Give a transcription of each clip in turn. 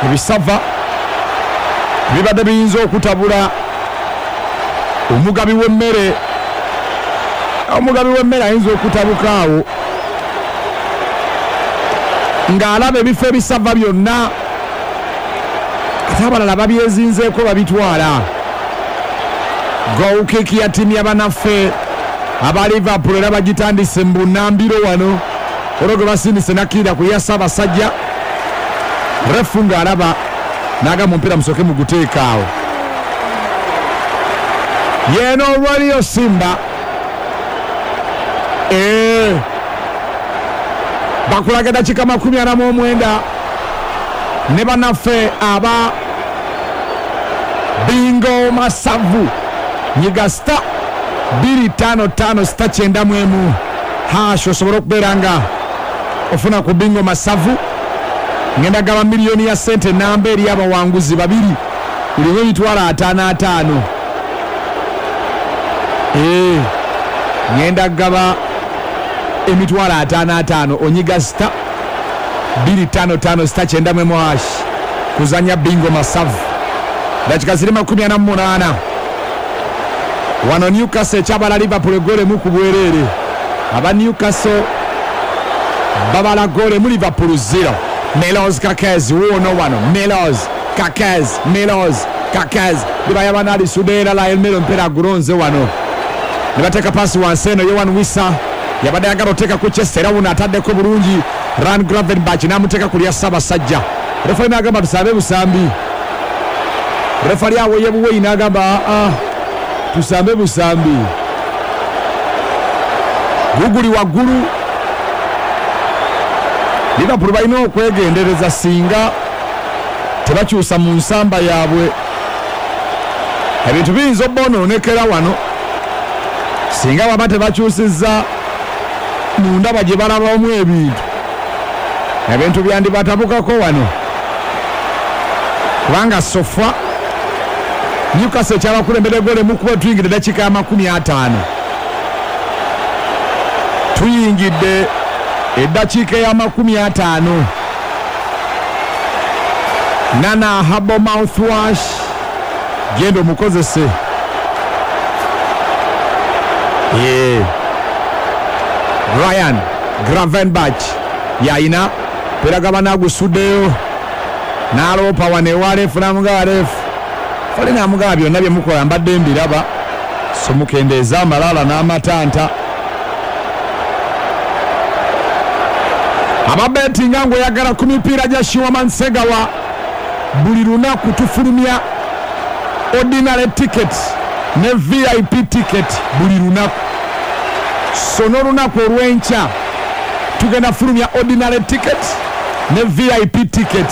Ebisava bibadde biyinza okutabula omugabi w'emmere. Omugabi w'emmere ayinza okutabuka awo ng'alaba ebifo ebisava byonna, ate abalala babyezinzeeko babitwala. Goal kick ya ttiimu ya banaffe aba Liverpool era bagitandise mu bunnambiro wano olwo gwe basindise nakkirira ku ya Ssaabasajja. Refu ng'alaba n'agamba omupiira musooke muguteeke awo. Yeeno Radio Simba. Eeh, bakulaga eddakiika 49 ne bannaffe aba Bingo Masavu. Nyiga star 255 star 91 hash osobole okubeera nga ofuna ku Bingo Masavu. Ngenda gaba miliyoni ya ssente namba eri abawanguzi babiri, buli omu emitwalo ataano ataano. Eeh, ngenda gaba emitwalo ataano ataano. Onyiga star 255 star 91 hash kuzanya Bingo Masavu. Dakika ziri 48. Wano Newcastle ekyabala Liverpool egoolo emu ku bwereere. Aba Newcastle babala goolo emu, Liverpool 0. Milos Kerkez wuuno wano. Milos Kerkez, Milos Kerkez libayaba n'alisudeera Lionel Melo omupiira agulonze wano. Ne bateeka paasi wansi eno Yohan Wissa yabadde ayagala oteeka ku Chester era wuno ataddeko bulungi Ryan Gravenberch n'amuteeka ku lya Ssaabasajja. Refali n'agamba tusambe busambi. Refali aweye buweyi n'agamba aa tusambe busambi. Guguli waggulu. Liverpool balina okwegendereza singa tebakyusa mu nsamba yaabwe. Ebintu biyinza obbonoonekera wano singa baba tebakyusizza mu ndaba gye balabamu ebintu. Ebintu byandibatabukako wano kubanga sofa Newcastle ekyabakulembera egoolo emu kuba tuyingidde eddakiika ya 50. Tuyingidde eddakiika ya 50. Nana Herbal mouthwash genda omukozese. Yeah. Ryan Gravenberch yayina pera gaba nagusuddeyo n'aloopa wano ewa refu n'amugaba refu fali n'amugaba byonna bye mukola mbadde mbiraba, so mukendeeze amalala n'amatanta. Ababetinga ng'oyagala ku mipiira gya Shiwaman Segawa, buli lunaku tufulumya ordinary ticket ne VIP ticket buli lunaku. So n'olunaku olw'enkya tugenda fulumya ordinary ticket ne VIP ticket.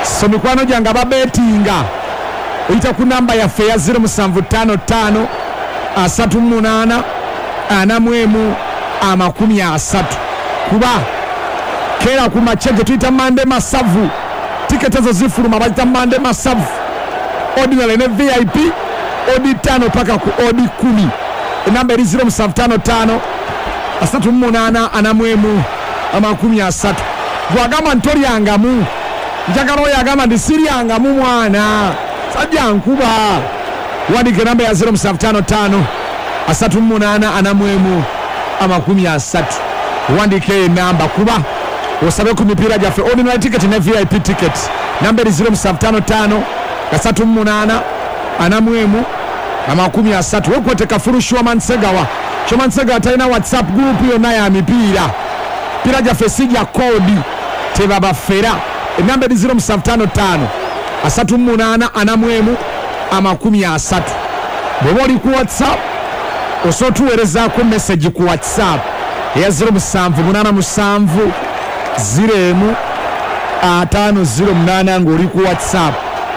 So mikwano gyange ababetinga, oyita ku namba yaffe eya 0755 38 41 30, kuba keera ku makya gye tuyita Mande Masavu tiketi ezo zifuluma, bazita Mande Masavu ordinary ne VIP, odi 5 paka ku odi 10. Enamba eri 0755 38 41 30. Gwagamba nti tolyangamu, njagala oyo agamba nti siryangamu mwana sajja nkuba, wandika enamba ya 0755 38 41 30. Wandika eyo enamba kuba osabe ku mipiira gyaffe ordinary ticket ne VIP ticket. Namba eri 0755 38 41 30. Wekwete kafulu Shuaman Segawa. Shuaman Segawa talina WhatsApp group yonna ya mipiira. Mipiira gyaffe si gya koodi, tebabafera. Enamba eri 0755 38 41 30. Bw'oba oli ku WhatsApp osobola otuweerezaako message ku WhatsApp eya 0787 01 508 ng'oli ku WhatsApp,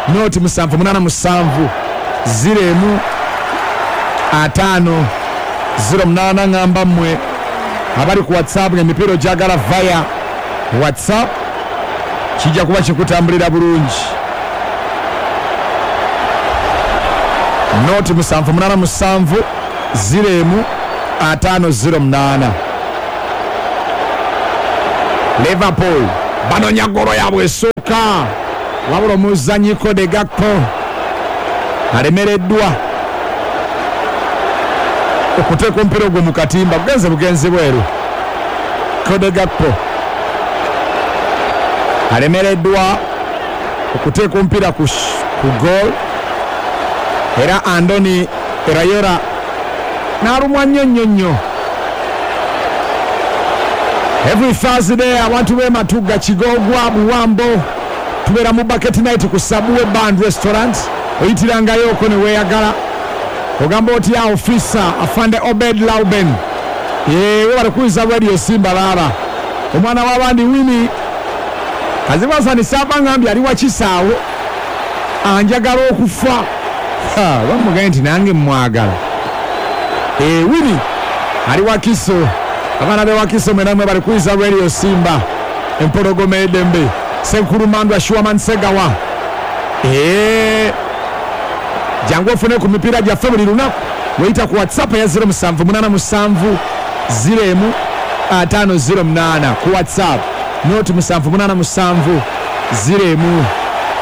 noti 787 01 508. Ngamba mmwe abali ku WhatsApp ng'emipiira ogyagala via WhatsApp, kijja kuba kikutambulira bulungi. Noti 787 01 508. Liverpool banonya golo yaabwe esooka. Wabula omuzannyi Cody Gakpo alemereddwa okuteeka omupiira ogwo mu katimba, gugenze bugenzi bweru. Cody Gakpo alemereddwa okuteeka omupiira ku goal, era Andoni Iraola n'alumwa nnyo nnyo nnyo. Every Thursday abantu b'e Matugga, Kigogwa, Buwambo tubeera mu bucket night ku Subway Band Restaurant. Oyitirangayo okwo ne weeyagala, ogamba otya ofisa afande Obed Lauben, we bali kuyiza Radio Simba. Baaba omwana w'abandi Wini Kazibasani saava ngambye ali wakisaawo anjagala okufa, bamugaye nti nange mwagala. Wini ali Wakiso, abaana be Wakiso mwenamwe bali kuyiza Radio Simba, empologoma edembe Senkulu Shuaman Segawa. Jangu ofune ku mipiira gyaffe buli lunaku, weyita ku WhatsApp eya 0787 0 508 ku WhatsApp noti 787 0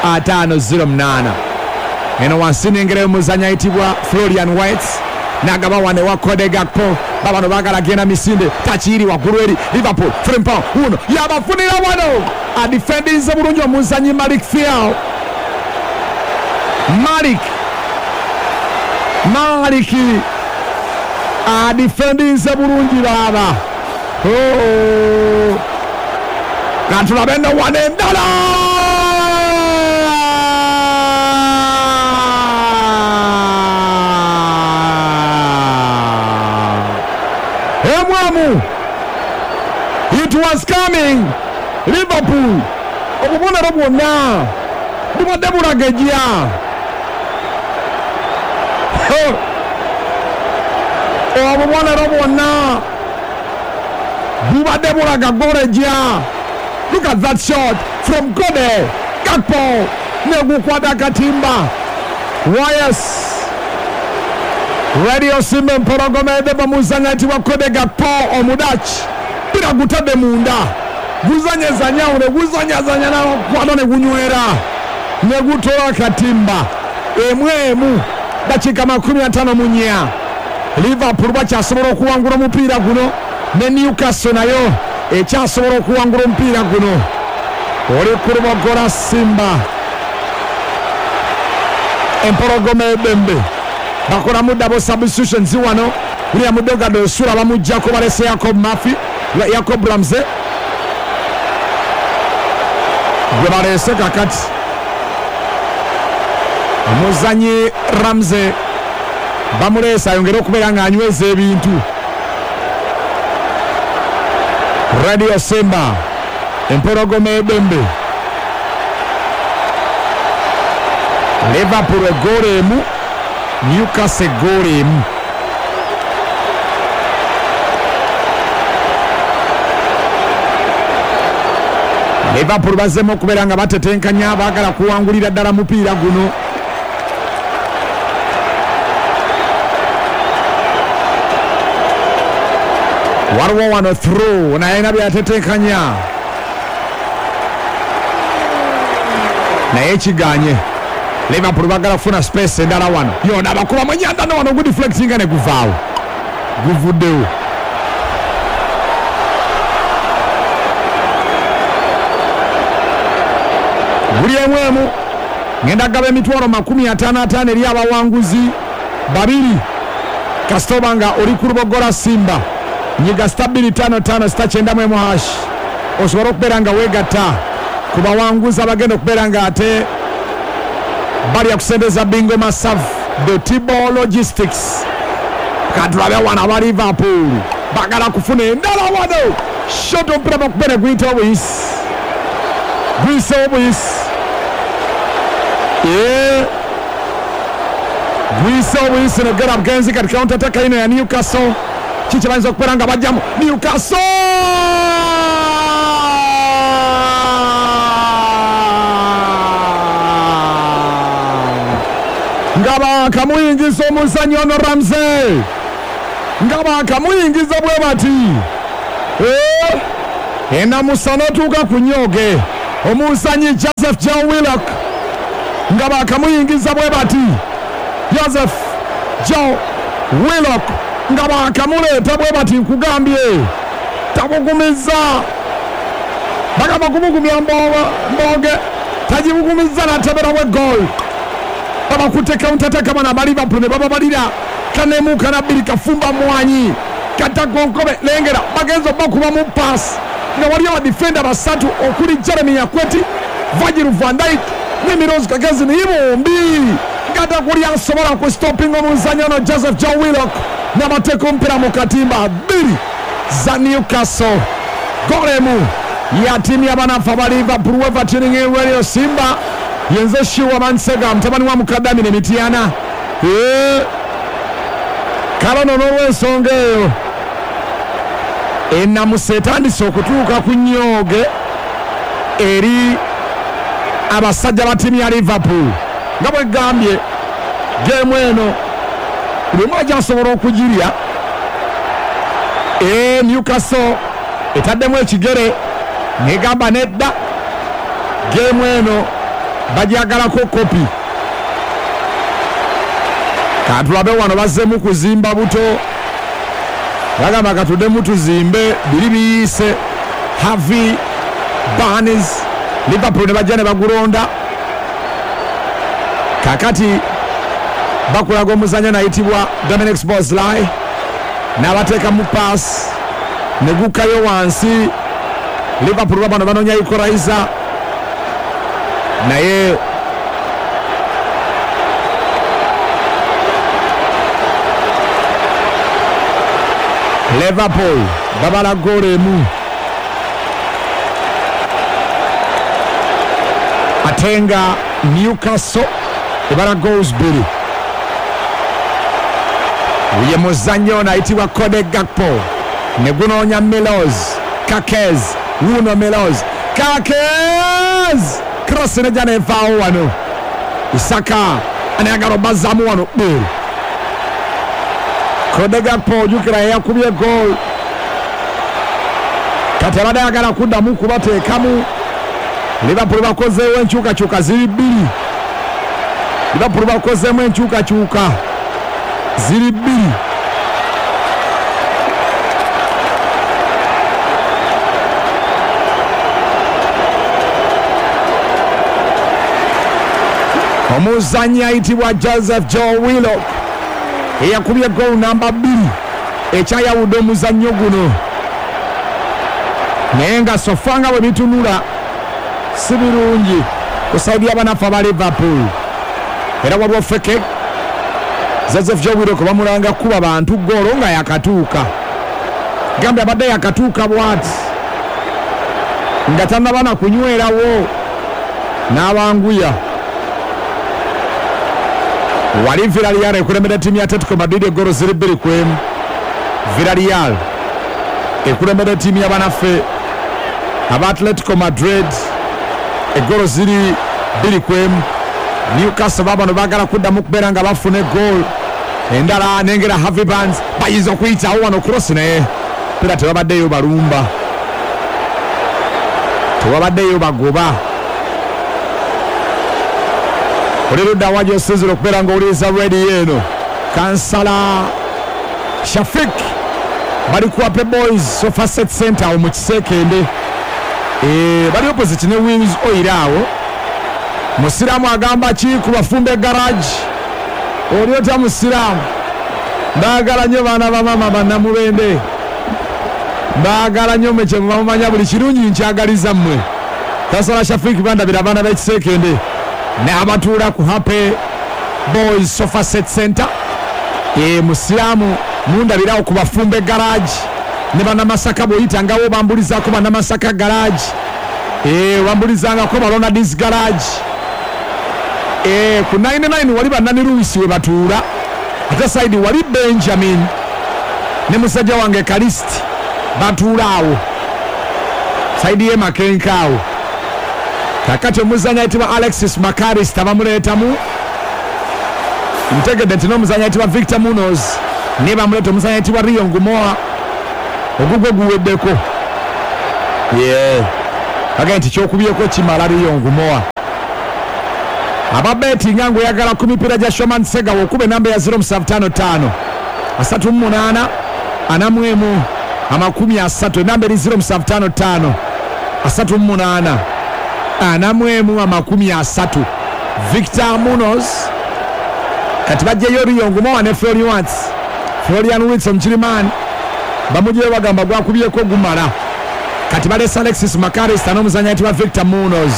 508. Eno wansi nengerayo omuzanyi ayitibwa Florian Wirtz n'agaba wano ewa Cody Gakpo. Babano baagala genda misinde, takiiri waggulu eri Liverpool. Frimpong wuno yabafunira wano, adifendinze bulungi omuzanyi Malik Thiaw. Malik adifendinze bulungi baaba. Katulabe nno wano endala emwamu. It was coming. Liverpool obubonero bwonna bubadde bulagejja, obubonero bwonna bubadde bulaga golejja. Look at that shot from Cody Gakpo, negukwata akatimba. Yes, Radio Simba, empologoma edeba. Muzanyi ayitibwa Cody Gakpo Omudachi, mpira gutadde munda, guzanyezanyawo ne guzanyazanya nakwata ne gunywera ne gutola akatimba. Emu emu, dakiika 54. Liverpool bakyasobola okuwangula omupiira guno, ne Newcastle nayo ekyasobola okuwangula omupiira guno. Oli ku Lubogola, Simba, empologoma edembe. Bakolamu double substitutions wano. William Dogado Osula bamugjako, balese Jacob Murphy, Jacob Ramsey gwe baleese kakati. Omuzanyi Ramsey bamuleese ayongere okubeera ng'anyweza ebintu. Radio Simba, empologoma edembe. Liverpool egoolo emu, Newcastle egoolo emu. Liverpool bazzemu okubeera nga batetenkanya, baagala kuwangulira ddala mupiira guno. Waliwo wano through, naye na byatetenkanya naye kiganye. Liverpool bagala kufuna space endala wano, yona bakuba munyanda no wano gudeflectinga ne guvaawo, guvuddewo. Buli emu emu. Ngenda gaba 550,000 eri abawanguzi babiri. Kasita oba nga oli ku Lubogola Simba, nyiga star 255 star 91 hash osobole okubeera nga weegatta ku bawanguzi abagenda okubeera nga ate balya kusembeza bingo masavu the Tibo Logistics. Katulabe wano aba Liverpool bagala kufuna endala wano. Shot, omupiira bakubere, guyitawo buyisi, guyisewo buyisi. Guyisewo buyisi negera bugenzi. Kati counter attack ino ya Newcastle, kiki bayinza okubeera nga bajjamu Newcastle? Nga bakamuyingiza omuzanyi ono Ramsey, nga bakamuyingiza bwe bati. Enamusa n'otuuka ku nyooge. Omuzanyi Joseph Joe Willock nga bakamuyingiza bwe bati. Joseph Joe Willock nga bakamuleeta bwe bati, nkugambye tabugumizza, bagamba kumugumya mbooge, tagibugumizza n'ateberawo egoal. Babakutte counter attack bano aba Liverpool ne bababalira kanemu kana bbiri, kafumba mwanyi katagonkobe lengera bagenza obakubamu pass nga waliyo abadifenda basatu okuli Jeremy Akweti, Virgil van Dijk ne Milos Kagezi, naye bombi nga takuli asobola ku stopping omuzanyi ono Joseph Joe Willock n'abateeka omupiira mu katimba. 2 za Newcastle, golemu ya tiimu y'abanafu aba Liverpool. Weva tuning in Radio Simba, yenze Shiwa Mansega mutabani wa Mukadami ne Mityana. Kale no n'olw'ensonga eyo ennamusa etandise okutuuka ku nnyooge eri abasajja ba ttiimu ya Liverpool. Nga bwe gambye, geemu eno buli omu agyasobola okugirya. Newcastle etaddemu ekigere negamba nedda, geemu eno bagyagalako kopi. Katulabe wano bazzeemu kuzimba buto, bagamba katuddemu tuzimbe biri biyiise. Harvey Barnes, Liverpool ne bajja ne bagulonda. Kakati bakulaga omuzanyo nayitibwa Dominic Szoboszlai n'abateekamu pass ne gukkayo wansi. Liverpool babano banoonya equalizer, naye Liverpool babala goolo emu, ate nga Newcastle ebala goals 2. Ye muzannyo ono ayitibwa Cody Gakpo ne gunoonya Milos Kakez, wuuno Milos Kakez, cross nejja nevaawo wano. Isaka anayagala obazzaamu wano bbeeru. Cody Gakpo ojjukira yeyakubye goal, kati abadde ayagala kuddamu kubateekamu. Liverpool bakozeewo enkyukakyuka ziri 2. Liverpool bakozeemu enkyukakyuka ziri 2. Omuzanyi ayitibwa Joseph Joe Willock eyakubye goal namba 2 ekyayawudde omuzannyo guno, naye nga sofa nga bwe bitunula si birungi ku saidi y'abanafu aba Liverpool. Era waliwo feke Joseph Joe Willock bamulanga kuba bantu goolo nga yakatuuka, gambye abadde yakatuuka bwati nga tannaba na kunywerawo n'abanguya. Wali Villarreal ekulembera ttiimu ya Atletico Madrid egoolo ziri 2-1. Villarreal ekulembera ttiimu y'abanaffe aba Atletico Madrid egoolo ziri 2-1. Newcastle babano baagala kuddamu kubeera nga bafuna egoolo endala. Nengera Harvey Barnes bayinza okuyitawo wano cross, naye pira tebabaddeyo balumba, tebabaddeyo bagoba. Oli ludda wa gy'osinzira okubeera ng'owuliriza rediyo eno, Kansala Shafik bali ku Ape Boys Sofa Set Center awo mu Kiseekende, bali opposite ne Wings Oil awo. Musiraamu agamba ki ku bafumbe garage? Oli otya musiraamu? Mbaagala nnyo baana ba maama bannamubende, mbaagala nnyo mmwe kye muba mumanya buli kirungi nkyagaliza mmwe. Kansala Shafik bandabira abaana b'Ekiseekende n'abatuula ku Happy Boys Sofa Set Center. Musiraamu mundabirawo ku bafumbe garage ne bannamasaka, bw'oyitangawo bambulizaako bannamasaka garage, bambulizangako balonadis garage. Ku 99 wali bannani Luisi we batuula, ate saidi wali Benjamin ne musajja wange Kalisti batuula awo saidi ye Makenka awo. Kakati omuzanyi ayitibwa Alexis McAllister bamuleetamu, ntegedde nti n'omuzanyi ayitibwa Victor Munoz naye bamuleeta, omuzanyi ayitibwa Rio Ngumoha ogugwe guweddeko. Bagambye nti kyokubyeko kimala Rio Ngumoha. Ababetinga ng'oyagala ku mipiira gya Shoman Segawa okuba enamba ya 0755 38 41 30, enamba eri 0755 38 41 30. Victor Munoz kati bajjayo Rio Ngumoha ne Florian Wirtz. Florian Wirtz omukirimani bamugyeyo bagamba gwakubyeko gumala. Kati balese Alexis McAllister n'omuzannyi ayitibwa Victor Munoz.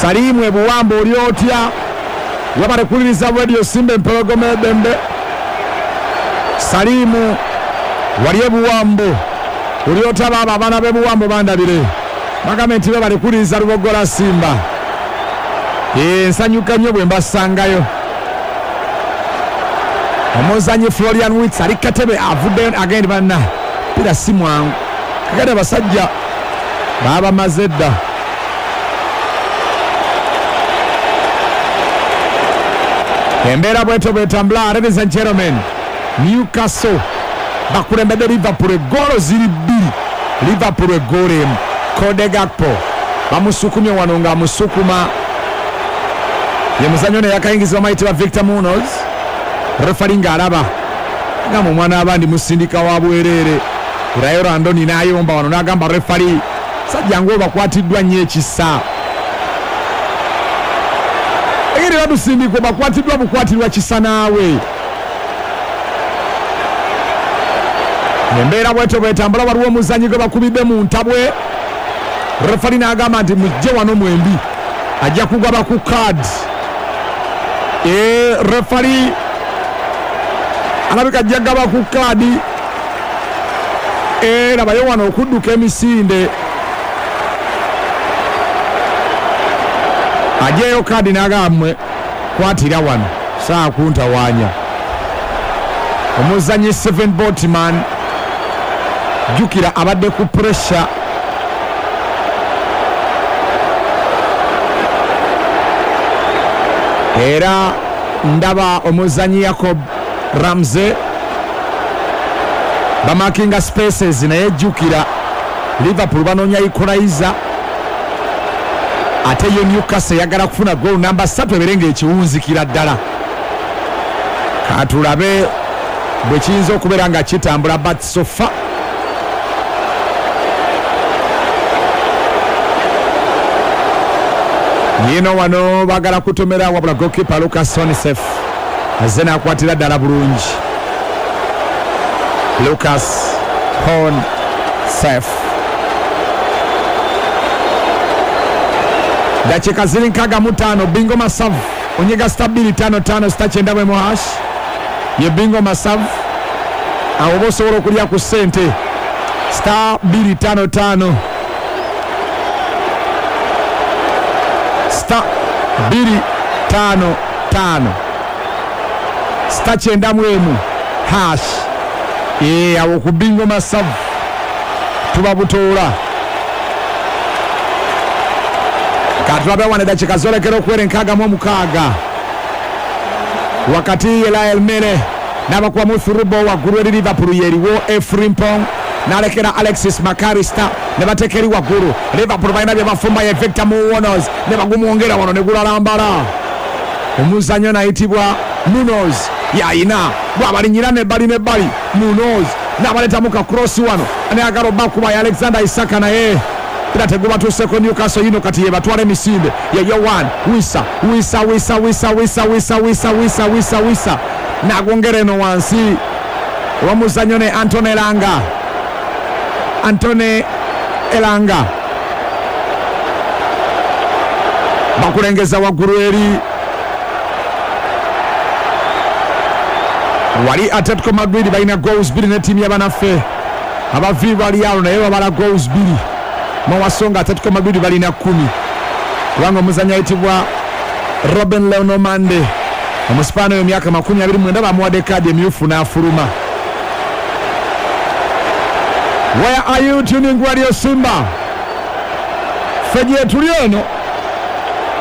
Salimu ebuwamba oli otya? Wabale kuwuliriza Radio Simba empologoma eddembe. Salimu wali ebuwambo oli otya? Baaba abaana b'ebuwambo bandabire bagambe nti bebale kuwuliriza Lubogola Simba. Nsanyuka nnyo bwe mbasangayo. Omuzannyi Florian Wirtz ali katebe avuddeyo agende banna pira si mwangu. Kakati abasajja baabamaze dda. Embeera bwetyo bwetambula. Ladies and gentlemen, Newcastle bakulembedde Liverpool eggoolo ziri bbiri, Liverpool eggoolo emu. Cody Gakpo bamusukumye wano ng'amusukuma ye muzannyo ono eyakayingizibwa mayitibwa Victor Munoz. Refari ng'alaba agamba omwana abandi musindika wa bwereere. Rayo Randoni n'ayomba wano n'agamba refari sajja ng'obakwatiddwa nnyo ekisa. Engeri batusindika bakwatiddwa bukwatirwa kisa naawe. Embeera bwetyo bwetambula. Waliwo omuzannyi gwe bakubidde mu ntabwe. Refari n'agamba nti mujje wano mwembi, ajja kugaba ku kaadi. Refari alabika ajja gaba ku kaadi. Labayo wano okudduka emisinde, ajeyo kaadi n'agamba mmwe kwatira wano saa kuntawaanya. Omuzannyi Steven Botman jjukira abadde ku pressure. Era ndaba omuzannyi Jacob Ramsey bamakinga spaces, naye jjukira Liverpool banoonya equalizer, ate yo Newcastle eyagala kufuna goal namba 3 ebeere ng'ekiwunzikira ddala. Katulabe bwe kiyinza okubeera nga kitambula, but so far yino wano bagala kutomera, wabula goalkeeper Lucas Honisef azze n'akwatira ddala bulungi. Lucas Honisef. Dakika ziri 65. Bingo Masavu onyega star 255 star 9 hash ye Bingo Masavu, awo oba osobola okulya ku ssente star 255 star 255 star 91 hash. Awo ku Bingo Masavu tuba butoola. Katulabe wano dakika zolekera okuwera 66. Wakati Elael Mene n'abakubamu thurubo waggulu eri Liverpool yeriwo Efrimpong n'alekera Alexis McAllister ne bateeka eri waggulu. Liverpool balina bye bafumba ye Victor Munoz ne bagumwongera wano ne gulalambala. Omuzannyo n'ayitibwa Munoz yayina bw'abalinyira nebbali nebbali. Munoz n'abaleetamu ka cross wano nayagala obbakuba ya Alexander Isaka, naye era tegubatuuseko. Newcastle yino kati yebatwala emisinde ye Yohan Wissa Wissa Wissa Wissa Wissa Wissa Wissa Wissa Wissa Wissa n'agwongera eno wansi owamuzannyo ne Antone Elanga. Antone Elanga bakulengeza waggulu eri wali. Atletico Madrid balina goals bbiri ne ttiimu y'abanaffe aba Villarreal, naye babala goals bbiri mawasonga. Atletico Madrid balina 10 kubanga omuzannyi ayitibwa Robin Lenormand omusipaani oyo myaka 29 bamuwadde kaadi emyufu n'afuluma. Where are you tuning Radio Simba? Ffe gye tuli eno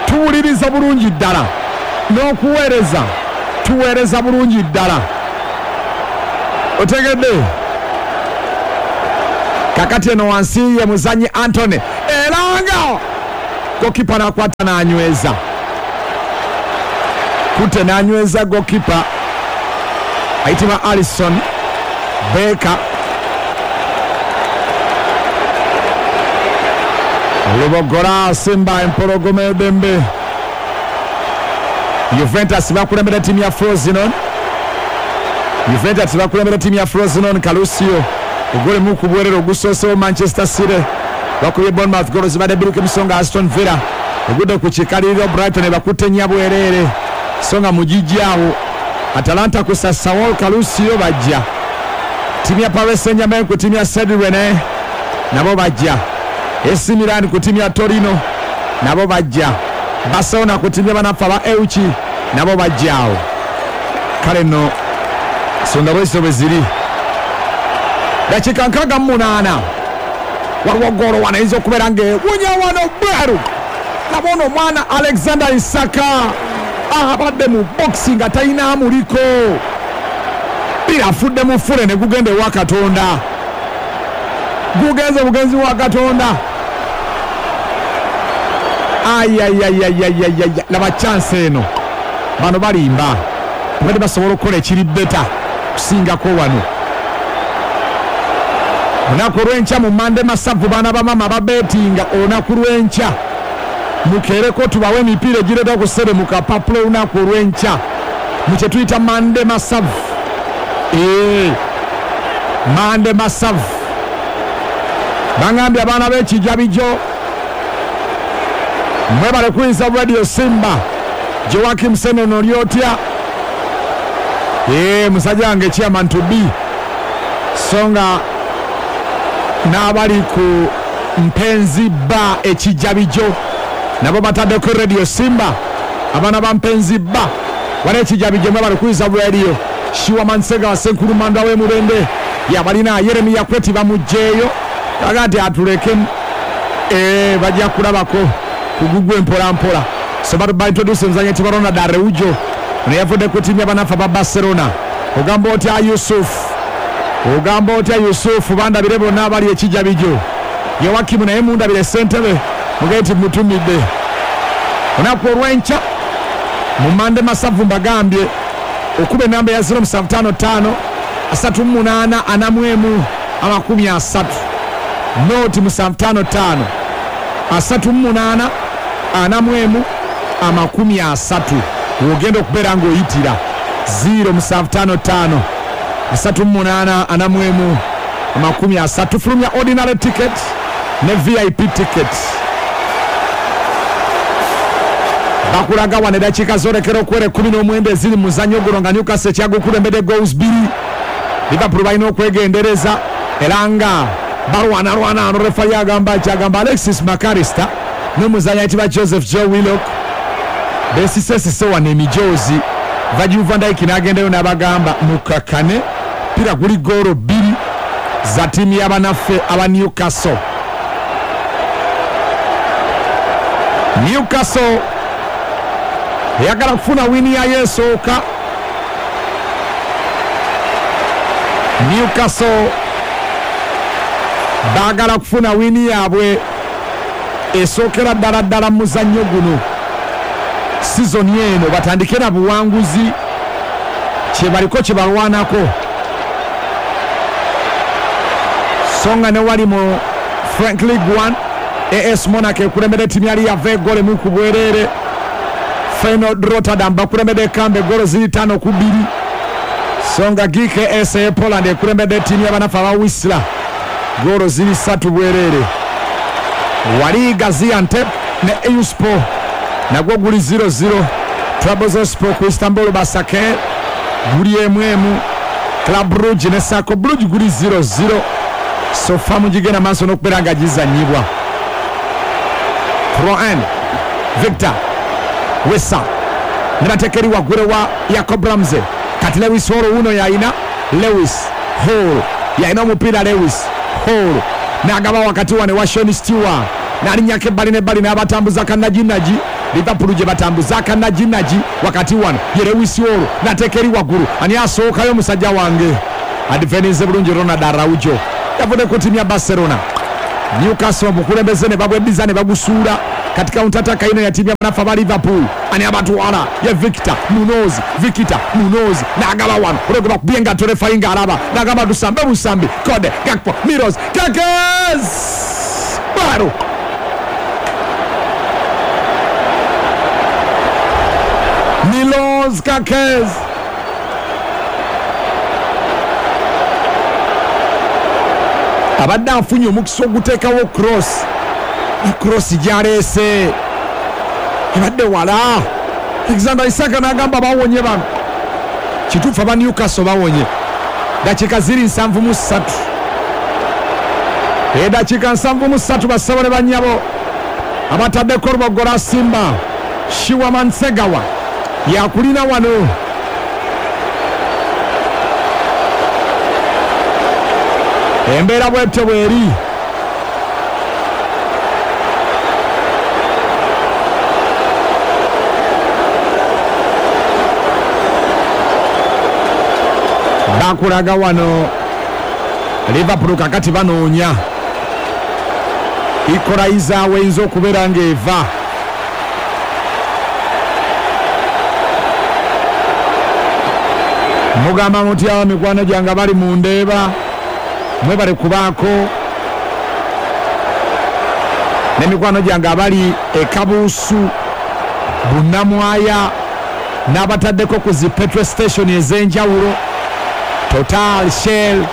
tuwuliriza bulungi ddala n'okuweereza tuweereza bulungi ddala. Otegedde? Kakati eno wansi ye muzannyi Antony Gokipa n'akwata n'anyweza, kute n'anyweza gokipa ayitibwa Alison Baker. Lubogora Simba empologoma edembe. Juventus bakulembera ttiimu ya Frosinone. Juventus bakulembera ttiimu ya Frosinone. Calusio ogolemu ku bwerere ogusoosewo. Manchester City bakubye Bournemouth golo zibadde 2 ku songa. Aston Villa egudde ku kikaliriro, Brighton bakutte nnya bwereere, so nga mugigi awo Atalanta ku Sassuolo. Calusio bajja. Ttiimu ya Paris Saint-Germain ku ttiimu ya Stade Rennais nabo bajja. AC Milan ku ttiimu ya Torino nabo bajja. Barcelona ku ttiimu ya banaffe aba Elche nabo bajja awo. Kale nno songa bwezo bwe ziri. Dakiika 68, waliwo goolo wano eyinza okubeera ng'ewunya wano bweru. Nabona omwana Alexander Isaka abadde mu boxi nga talina amuliko, pira afudde mu ffule ne gugenda ewa Katonda, gugenze bugenzi wa Katonda. Ayayayayayaya, laba chance eno. Bano balimba, tebadde basobola okukola ekiri better kusingako wano. Olunaku olw'enkya mu Mande Masavu, baana bamama babeetinga, olunaku lw'enkya mukeereko tubawe emipiira egireeta ku ssere mu kapapula. Olunaku olw'enkya mu kye tuyita Mande Masavu, ee Mande Masavu, baŋambye abaana b'ekijabijo mwebale kuyinza Radio Simba. Joakim Senono, oli otya? Ee, musajja wange chairman to be, so nga n'abali ku Mpenzi Ba ekijabijo nabo bataddeko Radio Simba. Abaana ba Mpenzi Ba wali ekijabijo, mwebale kuyinza radio. Shiwa Mansega wasenkulu manda w'emubende yabalina Yeremiya Kweti bamugjeeyo kaga nti atulekemu, ee bajja kulabako kugugwe mpola mpola. So baintroduce omuzanyi ayitibwa Ronald Araujo, ono yavudde ku ttiimu y'abanafu aba Barcelona. Ogamba otya Yusuf? Ogamba otya Yusufu? Bandabire bonna abali ekijabijo. Yowakimu naye mundabire, ssentebe mugee nti mutumidde. Olunaku olw'enkya mu Mande Masavu, mbagambye okuba enamba ya 0755 38 41 30, 0 755 38 41 30, wogenda okubeera ng'oyitira 0755 38 41 30. Fulumya ordinary ticket ne VIP ticket. Bakulaga wano eddakiika zolekera okwera 19 eziri mu muzannyo guno nga Newcastle ekyagukulembedde goals 2. Liverpool balina okwegendereza era nga balwanalwana. Ano refali agamba ki? Agamba Alexis McAllister n'omuzannyi ayitibwa Joseph Joe Willock besisesise wano emijoozi. Virgil van Dijk n'agendayo n'abagamba mukakkane, pira guli goolo 2 za ttiimu y'abanaffe aba Newcastle. Newcastle eyagala kufuna wini yayo esooka. Newcastle baagala kufuna wini yaabwe esookera ddala ddala mu muzannyo guno sizoni eno, batandike na buwanguzi, kye baliko kye balwanako. So nga ne wali mu French League 1, AS Monaco ekulembedde ttiimu yali yava egolo 1 ku bwereere. Feyenoord Rotterdam bakulembedde ekambe egolo ziri 5-2. So nga GKS e Poland ekulembedde ttiimu y'abanafu aba Wisla golo ziri 3 bwereere. Wali Gaziantep ne Eyüpspor nagwo guli 0-0. Trabzonspor ku Istanbul Basake guli 1-1. Club Brugge ne Cercle Brugge guli 0-0. So far mugigenda maaso n'okubeera nga gizanyibwa. Troen Victor Wesa ne bateeka eri waggulu wa Jacob Ramsey. Kati Lewis Hall wuno yayina, Lewis Hall yalina omupiira. Lewis Hall n'agaba wakati wane wa Sean Stewart, n'alinnyako ebbali n'ebbali n'abatambuza kanaginagi. Liverpool gye batambuza kanaginagi wakati wano ye Lewis Hall, n'ateeka eri waggulu. Ani asookayo? Omusajja wange adifendinze bulungi, Ronald Araujo yavudde ku ttiimu ya Barcelona. Newcastle omukulembeze ne babweddiza ne bagusuula. Kati counter attack ino ya timu y'abanafu aba Liverpool. Ani abatwala ye Victor Munoz, Victor Munoz n'agaba wano olwego bakubye nga referee nga alaba n'agamba tusambe busambi. Kode Gakpo Milos Kerkez Baro Milos Kerkez abadde afunye omukisa oguteekawo cross, cross gyaleese ebadde wala. Alexander Isak n'agamba bawonye bano. Kituufu aba Newcastle bawonye. Dakiika ziri 73, edakiika 73 bassabo ne bannyabo abataddeko Olubogola Simba. Shiwaman Segawa yakulina wano. Embeera bwetyo bweri. Bakulaga wano Liverpool kakati banoonya equalizer weyinza okubeera ng'eva. Mugamba mutya mikwano gyange bali mu ndeeba, mwebale kubaako n'emikwano gyange abali e Kabuusu, Bunnamwaya n'abataddeko ku zi petrol station ez'enjawulo, Total, Shell,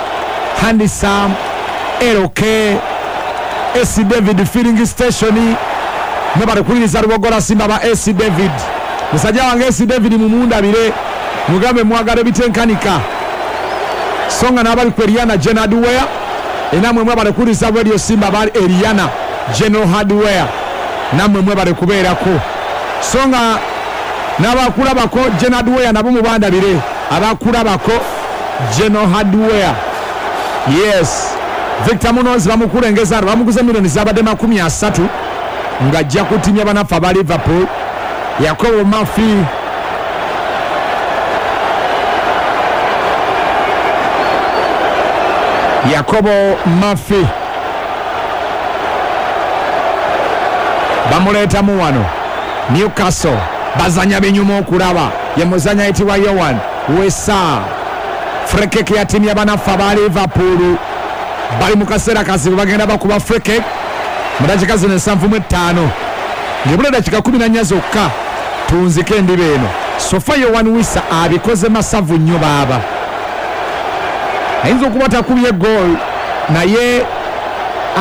Handisam, LK, AC David filling station. Mwebale kuwuliriza Lubogola Simba ba AC David. Musajja wange AC David mumundabire, mugambe mwagala ebitenkanika. Songa n'abali ku Eriana General Hardware, enamwe mwebale kuwuliriza Radio Simba bali Eriana General Hardware, nammwe mwebale kubeerako. Songa n'abakulabako General Hardware nabo mubandabire, abakulabako General Hardware. Yes, Victor Munoz bamukulengeza, bamuguze milioni zabadde 30 ng'ajja kutimya banafu aba Liverpool. Yakobo Murphy Yakobo Murphy bamuleetamu wano. Newcastle bazanya binyuma okulaba, ye muzanya ayitibwa Yohan Wesa. Free kick ya timu y'abanafu aba Liverpool bali mu kaseera kazibu, bagenda bakuba free kick mu dakiika zino 75 ng'ebula dakiika 14 zokka tunzike endiba eno. Sofa Yohan Wisa abikoze masavu nnyo baaba, ayinza okuba takubye goal naye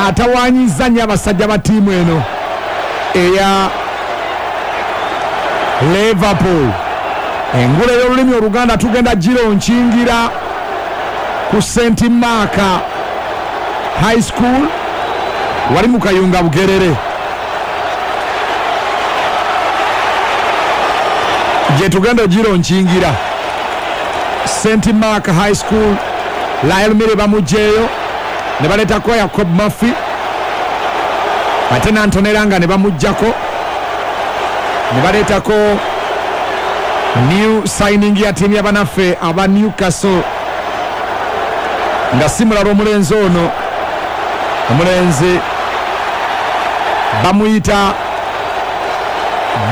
atawaanyizza nnyo abasajja ba ttiimu eno eya Liverpool. Engule y'olulimi Oluganda tugenda giro nkingira ku St Mark High School wali mu Kayunga Bugerere, gye tugenda giro nkingira St Mark High School. Lyle Mire bamugyeyo ne baleetako Jacob Murphy, ate n'Antoneranga ne bamuggyako ne baleetako new signing ya tiimu y'abanaffe aba Newcastle nga si mulala omulenzi ono, omulenzi bamuyita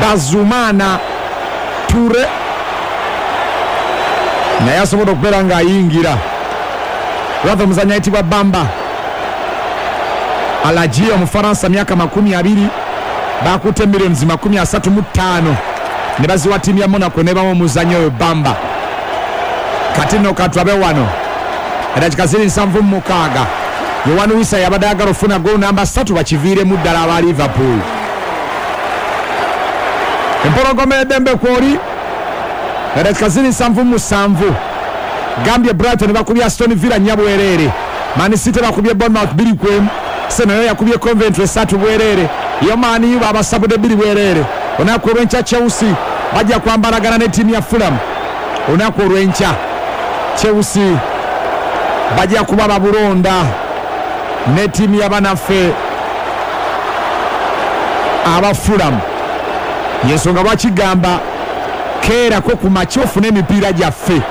Bazumana Ture, naye asobola okubeera ng'ayingira. Rather omuzanyi ayitibwa Bamba Alaji Omufaransa, myaka 20, bakutte milioni 35 ne baziwa ttiimu ya Monaco ne bamu omuzanyi oyo Bamba. Kati nno katulabe wano eddakiika ziri 76. Yohan Wissa yabadde ayagala ofuna goal namba 3 bakiviiremu ddala aba Liverpool. Empologoma eddembe kwoli eddakiika ziri 77. Gambye Brighton bakubye Aston Villa 4 bwereere, Man City bakubye Bournemouth 2-1, Arsenal yakubye Coventry 3 bwereere, yo Man U babasabudde 2 bwereere. Olunaku olw'enkya Chelsea bajja kwambalagana ne ttiimu ya Fulham. Olunaku olw'enkya Chelsea bajja kuba babulonda ne ttiimu y'abanaffe aba Fulham. Yensonga lwakigamba keerako ku makya ofune emipiira gyaffe.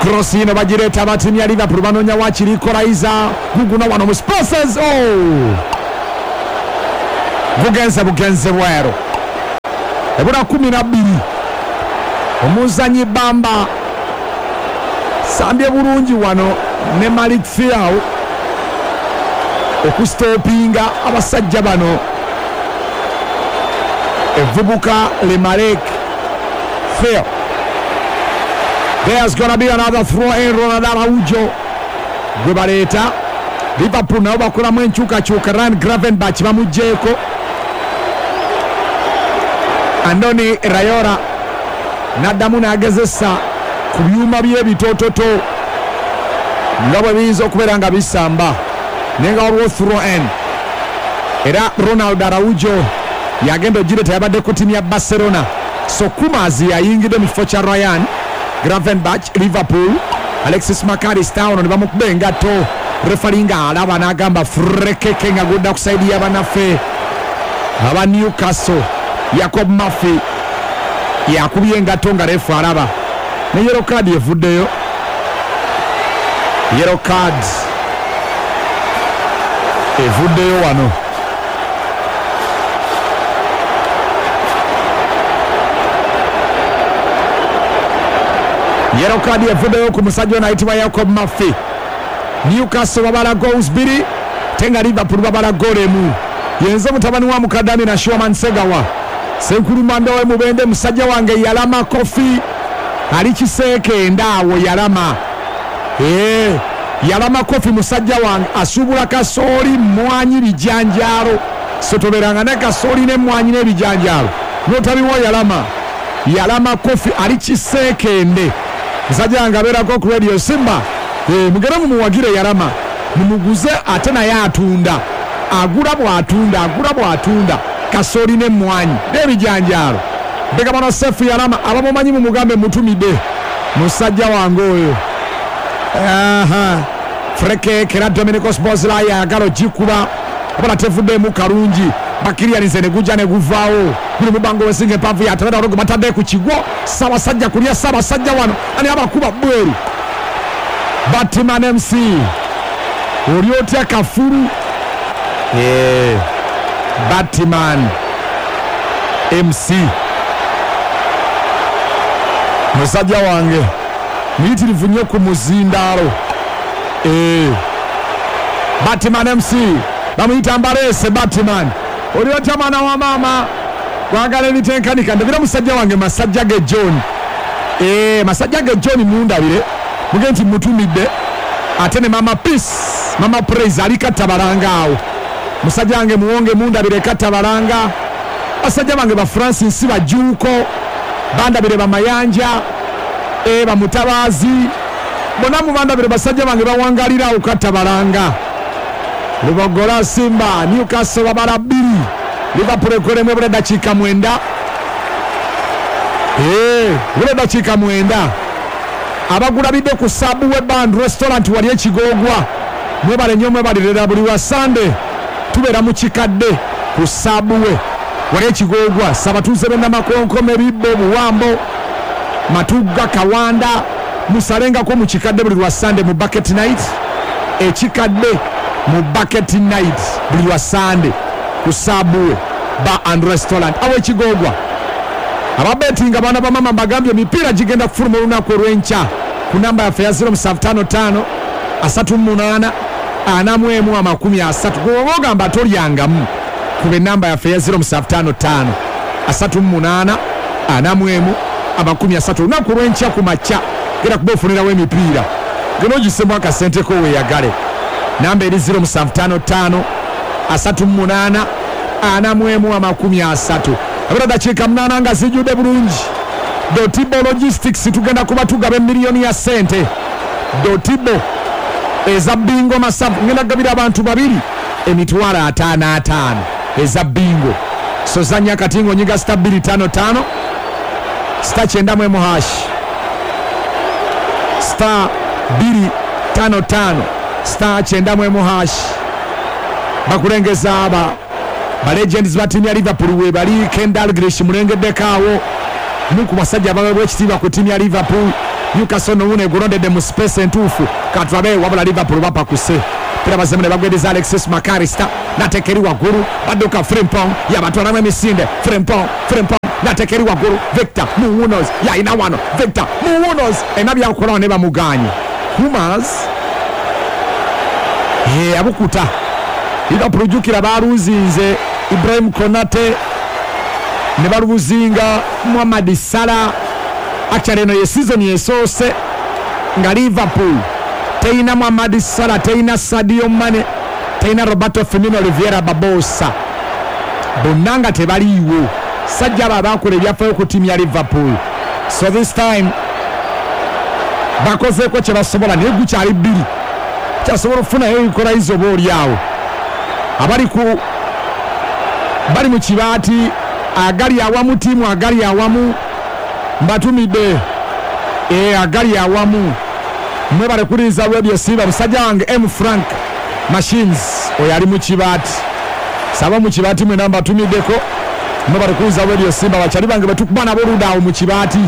Cross ino bagireeta aba ttiimu ya Liverpool banoonya wakiri equalizer guguna wano mu spaces. Oh! Gugenze bugenze bweru. Ebula 12. Omuzanyi Bamba sambye bulungi wano ne Malik Thiaw okustopinga abasajja bano. Evubuka le Malik Thiaw. There's gonna be another throw in. Ronald Araujo gwe baleeta. Liverpool nabo bakolamu enkyukakyuka. Ryan Gravenberch bamuggyeko. Andoni Raiola n'addamu n'agezesa ku byuma by'ebitoototo nga bwe biyinza okubeera nga bisamba, naye nga waliwo throw in. Era Ronald Araujo yagenda ogireeta, yabadde ku ttiimu ya Barcelona. So Kumazi yayingidde mu kifo kya Ryan Gravenberch. Liverpool Alexis McAllister ono ne bamukuba engatto, refari nga alaba n'agamba furekeke nga gudda ku sayidi y'abannaffe aba Newcastle. Jacob Murphy yakubye engatto nga refu alaba, ne yellow card evuddeyo. Yellow card evuddeyo wano. Yellow card evuddeyo ku musajja ono ayitibwa Jacob Murphy. Newcastle babala goals 2, tenga Liverpool babala goal 1. Yenze mutabani wa Mukadami na Shoman Segawa. Senkulumanda we Mubende, musajja wange yalama kofi ali kiseeke ndaawo yalama. Yalama kofi musajja wange asubula kasooli, mwanyi, bijanjaalo. Sotoberanga ne kasooli ne mwanyi n'ebijanjaalo notabiwa yalama. Yalama kofi ali kiseekende, musajja wange abeerako ku Radio Simba. Mugere mumuwagire yalama, mumuguze ate naye atunda, agula bw'atunda, agula bw'atunda kasooli n'emmwanyi n'ebijanjaalo. Mbega Sefu Yalama abamumanyi mumugambe mutumidde musajja wange oyo. Freke kera Dominicos Bozla yagala ogikuba abala tevuddemu kalungi. Bakirianize ne gujja ne guvaawo. Guli mubango wesinga empanvu yatabera ologo batadde ku kigwo. Ssaabasajja kulya Ssaabasajja wano ani abakuba bweru. Batman MC oli otya kafuru? Batman MC musajja wange muyitirivu nnyo ku muzindaalo. Batman MC bamuyita Mbalese Batman. Oli otya mwana wa maama kwagala ebitenkanika. Ndabira musajja wange Masajja ge John. Masajja ge John mundabire muge nti mutumidde. Ate ne Mama Peace, Mama Praise ali Katabalanga awo. Musajja wange muwonge mundabire Katabalanga. Basajja bange ba Francis Bajuuko bandabire ba Mayanja, ba Mutabazi bonna mubandabire basajja bange bawangalira awo Katabalanga. Lubogola Simba, Newcastle babala 2, Liverpool ekolemu ebula dakiika 9. Ebula dakiika 9. Abagulabidde ku Subway Band Restaurant wali ekigogwa, mwebale nnyo mwebalirira buli wa Sunday tubeera mu kikadde ku Subway wali ekigogwa. Sabatuze b'Ennamakonkome, Bibbo, Buwambo, Matugga, Kawanda, musalengako mu kikadde buli lwa Sunday mu bucket night. Ekikadde mu bucket night buli lwa Sunday ku Subway Bar and Restaurant awo ekigogwa. Ababetinga baana ba mama mbagambye emipiira gigenda kufuluma olunaku olw'enkya ku namba yaffe ya 0755 38 41 30. Gwe ogamba tolyangamu kuba enamba yaffe ya 0755 38 41 30. Olunaku olw'enkya ku makya genda kuba ofunirawo emipiira, genda ogisemu akasenteko weeyagale. Namba eri 0755 38 41 30. Abira dakiika 8 nga zijjudde bulungi. Dotibo Logistics tugenda kuba tugaba emiliyoni ya ssente. Dotibo eza bingo masavu ngenda kugabira abantu babiri emitwalo 55 eza bingo. So zanya katingo nyiga star 255 star 91 hash star 255 star 91 hash. Bakulengeza aba ba legends ba timu ya Liverpool we bali. Kendall Grealish mulengeddeko awo muku basajja abaweebwa ekitiibwa ku timu ya Liverpool. Newcastle nowune egulondedde mu space entuufu katulabe, wabula Liverpool bapakuse. Pira bazemu ne bagwedeza Alexis Macarista nateeka eri waggulu, badduka Frimpong yabatwalamu emisinde. Frimpong, Frimpong nateeka eri waggulu, Victor Munoz yalina wano, Victor Munoz alina byakolawo ne bamuganye. Humas abukuta. Liverpool jjukira baluzinze Ibrahim Konate ne baluzinga Mohamed Salah. Actually eno ye season yesoose nga Liverpool teyina Mohamed Salah, teyina Sadio Mane, teyina Roberto Firmino, Oliveira Barbosa, bonna nga tebaliiwo. Sajja abo abakola ebyafaayo ku ttiimu ya Liverpool. So this time bakozeeko kye basobola, naye gukyali bbiri, kyasobola okufunayo equalizer oba oli awo. Abali ku bali mu kibaati agali awamu, ttiimu agali awamu mbatumidde agali awamu. Mwebale kulinza Radio Simba. Musajja wange M Frank Machines oyo ali mu kibaati, saba mu kibaati mwena mbatumiddeko. Mwebale kulinza Radio Simba, bakyali bange betukuba nabo oludda awo mu kibaati.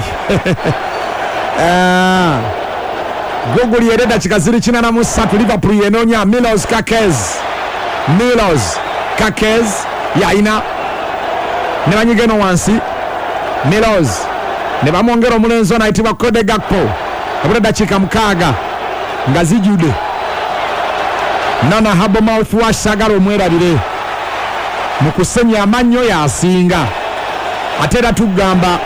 Gogoli era eddakiika ziri 83, Liverpool yenoonya Milos Kerkez. Milos Kerkez yalina ne banyiga eno wansi Milos ne bamwongera omulenzi ono ayitibwa Cody Gakpo. Abula eddakiika 6 nga zijjudde. Nana Habo mouthwash sagala omwerabire mu kusenya amannyo yasinga. Ate era tugamba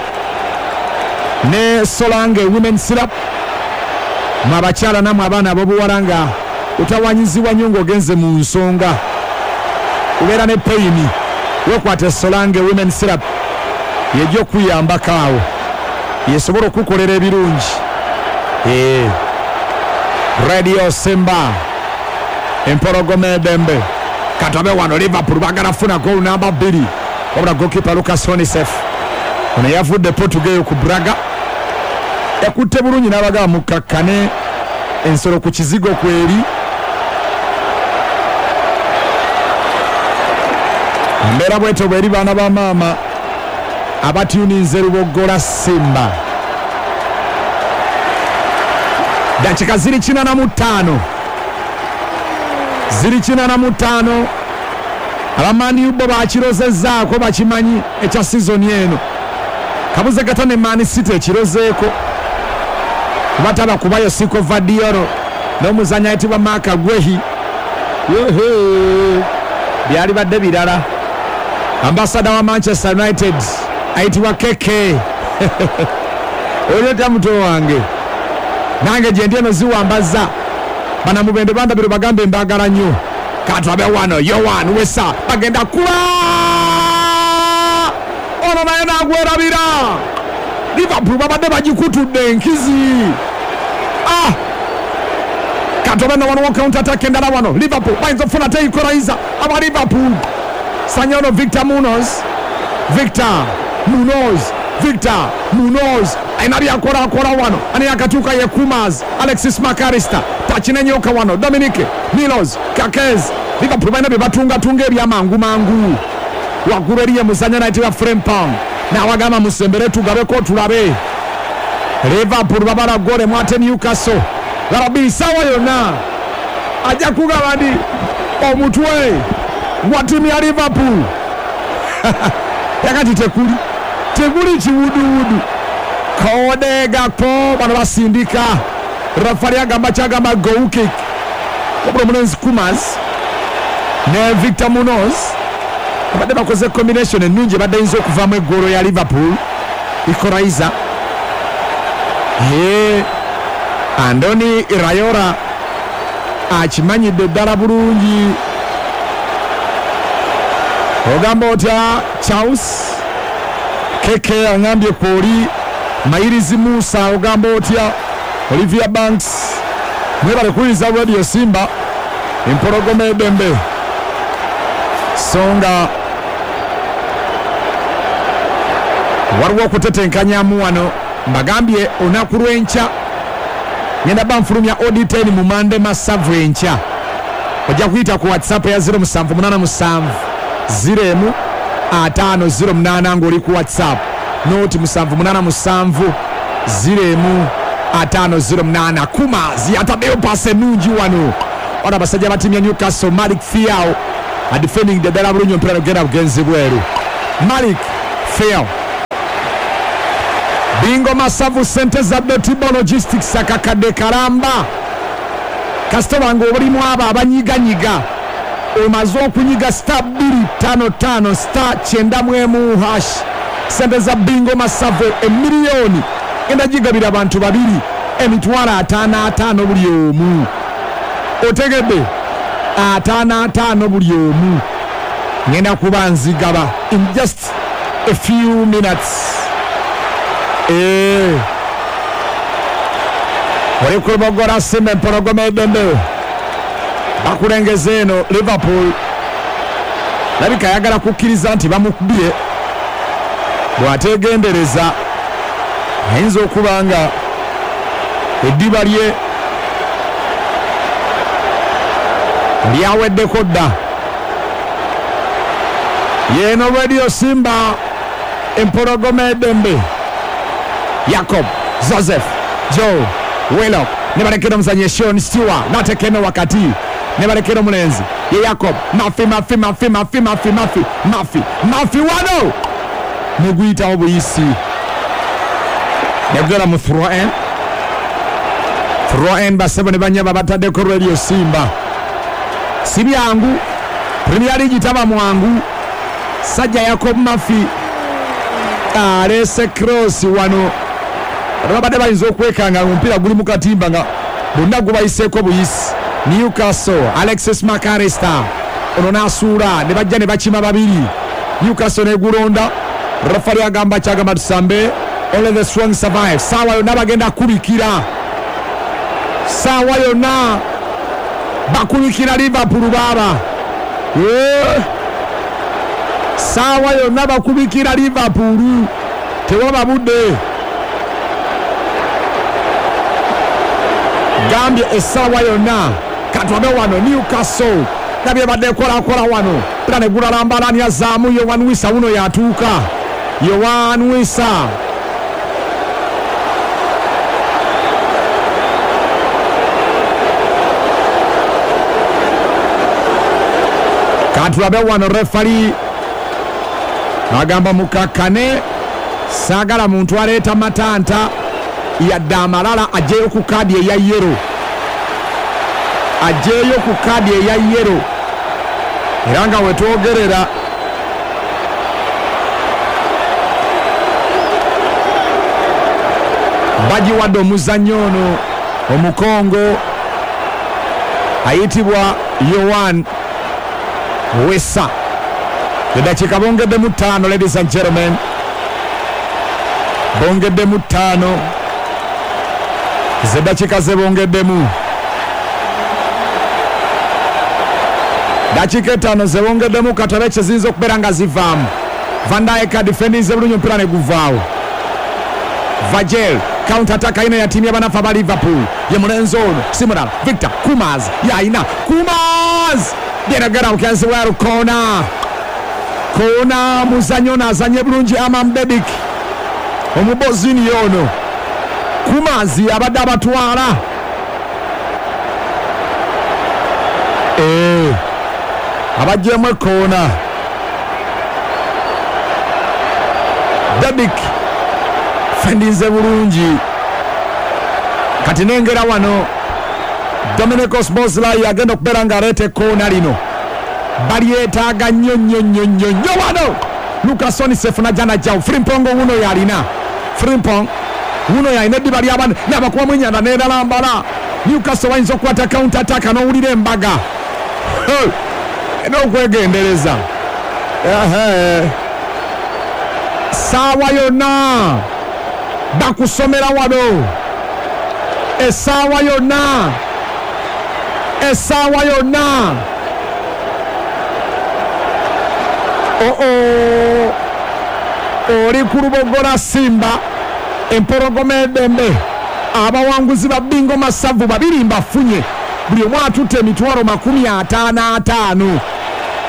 ne Solange Women Syrup, mwe abakyala nammwe abaana ab'obuwala nga otawanyizibwa nnyo ng'ogenze mu nsonga, obeera ne peyini, weekwate Solange Women Syrup yejja okuyambako awo, yesobola okukolera ebirungi. Radio Simba empologoma edembe. Katabe wano Liverpool bagala funa goal namba 2, wabula goalkeeper Lucas Honisef ono yavudde Portugal ku Braga, yakutte bulungi n'abagaba mukakkane ensolo ku kizigo kweri. Embeera bwetyo bweri baana ba maama abatyuninze Luboggola Simba. Dakika ziri 85, ziri 85. Abamani bo bakirozezzaako, bakimanyi ekya sizoni eno. Kabuze gata ne Man City ekirozeeko, bataba kubayo Siko Vadioro n'omuzanyi ayitibwa Mark Guehi. Byali badde birala. Ambasada wa Manchester United ayitibwa KK oli otya muto wange, nange gye ndi eno ziwambaza banamubende bandabiro bagambe mbagala nnyo. Katwabe wano Yohan Wesa bagenda kuba ono naye nagwerabira. Liverpool babadde bagikutudde enkizi. Katwabe no wano counter attack endala wano Liverpool bayinza okufuna te equalizer. Aba Liverpool sanya ono Victor Munoz, Victor Munoz, Victor Munoz alina byakola wano, ani akatuuka ye Kumas, Alexis Macarista takinenyoka wano Dominic Milos Kerkez. Liverpool balina bye batungatunga ebyamangu mangu. Waggulu eriye muzannya nayitibwa Frimpong n'awagamba musembere tugabeko tulabe. Liverpool babala gole mwate Newcastle laba sawa yonna ajja kugaba ndi omutwe gwa ttiimu ya Liverpool. Yakati tekuli kiwuduwudu. Cody Gakpo bano basindika, rafali agamba kyagamba goal kick. Wabula omulenzi Kumas ne Victor Munoz abadde bakoze combination ennungi ebadde eyinza okuvaamu eggoolo ya Liverpool equalizer. Andoni Raiola akimanyidde ddala bulungi. Ogamba otya Charles Keke angambye kwoli Mairizi Musa, ogamba otya Olivia Banks. Mwebale kuwuliriza Radio Simba empologoma edembe. Songa waliwo okutetenkanyamu wano, mbagambye olunaku lw'enkya ngenda banfulumya OD10 mu Mande Masavu enkya. Ojja kuyita ku WhatsApp ya 0787 0 5 08 ng'oli ku WhatsApp noti 787 0 5 08. Kumazi ataddeyo pasi ennungi wano, Wano abasajja ba ttiimu ya Newcastle, Malik Thiaw adefending ddala bulungi omupiira negugenda bugenzi bweru. Malik Thiaw. Bingo Masavu sente za Dotibo Logistics akakadde kalamba. Kasitoma ng'olimu abo abanyiganyiga omaze okunyiga star 255 star 91 hash. Sente za Bingo Masavu emiliyoni genda gigabira abantu babiri emitwalo 55 buli omu. Otegedde 55 buli omu. Ngenda kuba nzigaba in just a few minutes. Oli ku Lubogora Simba empologoma eddembe bakulengeza eno Liverpool. Labika ayagala kukkiriza nti bamukubye, bw'ateegendereza ayinza okuba nga eddiba lye lyaweddeko dda. Yeeno Radio Simba empologoma eddembe. Jacob Joseph Joe Willock ne balekera omuzannyi Sean Stewart n'ateeka eno wakati ne balekera omulenzi ye Jacob Murphy Murphy Murphy Murphy Murphy Murphy Murphy Murphy wano neguyitawo buyisi negera mu throw in. Throw in basebo ne banyaba bataddeko Radio Simba. Si byangu, Premier League taba mwangu. Sajja Jacob Murphy aleese cross wano. Babadde bayinza okwekanga omupiira guli mu katimba nga bonna gubayiseeko buyisi. Newcastle Alexis McAllister ono n'asuula ne bajja ne bakima babiri. Newcastle negulonda. Refari agamba kyagamba tusambe. Only the strong survive. Saawa yonna bagenda kubikira, saawa yonna bakubikira Liverpool baaba. Saawa yonna bakubikira Liverpool, tewaba budde. Gambye essaawa yonna katwabe wano Newcastle nabye badde ekolakola wano pira ne gulalambalani azaamu Yohan Wissa wuno yatuuka. Yohan Wissa katulabe wano. Refari agamba mukakkane, saagala muntu aleeta matanta yadde amalala, aggyeyo ku kaadi eya yero, aggyeyo ku kaadi eya yero. Era nga wetwogerera bagiwadde omuzannyi ono omukongo ayitibwa Yohan Wissa. Eddakiika bongeddemu 5, ladies and gentlemen, bongeddemu 5 zeddakiika ze bongeddemu, dakiika 5 ze bongeddemu. Katabe kye ziyinza okubeera nga zivaamu. Van Dijk adefendinze bulungi omupiira ne guvaawo. Vagel counter attack ayina ya ttiimu y'abanafu aba Liverpool. Ye mulenzi ono si mulala Victor Kumaz yayina Kumaz geragera mukenzi weru kona kona. Muzannyi ono azanye bulungi Amam Bedik omubozini ono Kumaz abadde abatwala. Abaggyemu ekoona Bedik fendinze bulungi. Kati nengera wano Dominicos Boslai agenda okubeera ng'aleeta ekkoona lino, balyetaaga nnyo nnyo nnyo nnyo nnyo wano. Lucas Onisef najja najjawo Frimpong wuno yalina Frimpong wuno yalina eddiba ly'abaana n'abakubamu ennyanda n'eralambala. Newcastle bayinza okukwata counter attack n'owulira embaga n'okwegendereza. Saawa yonna bakusomera wano, essaawa yonna, essaawa yonna. Oo oli ku Lubogora Simba empologoma eddembe. Abawanguzi ba Bingo Masavu babiri mbafunye, buli omu atutte emitwalo 55.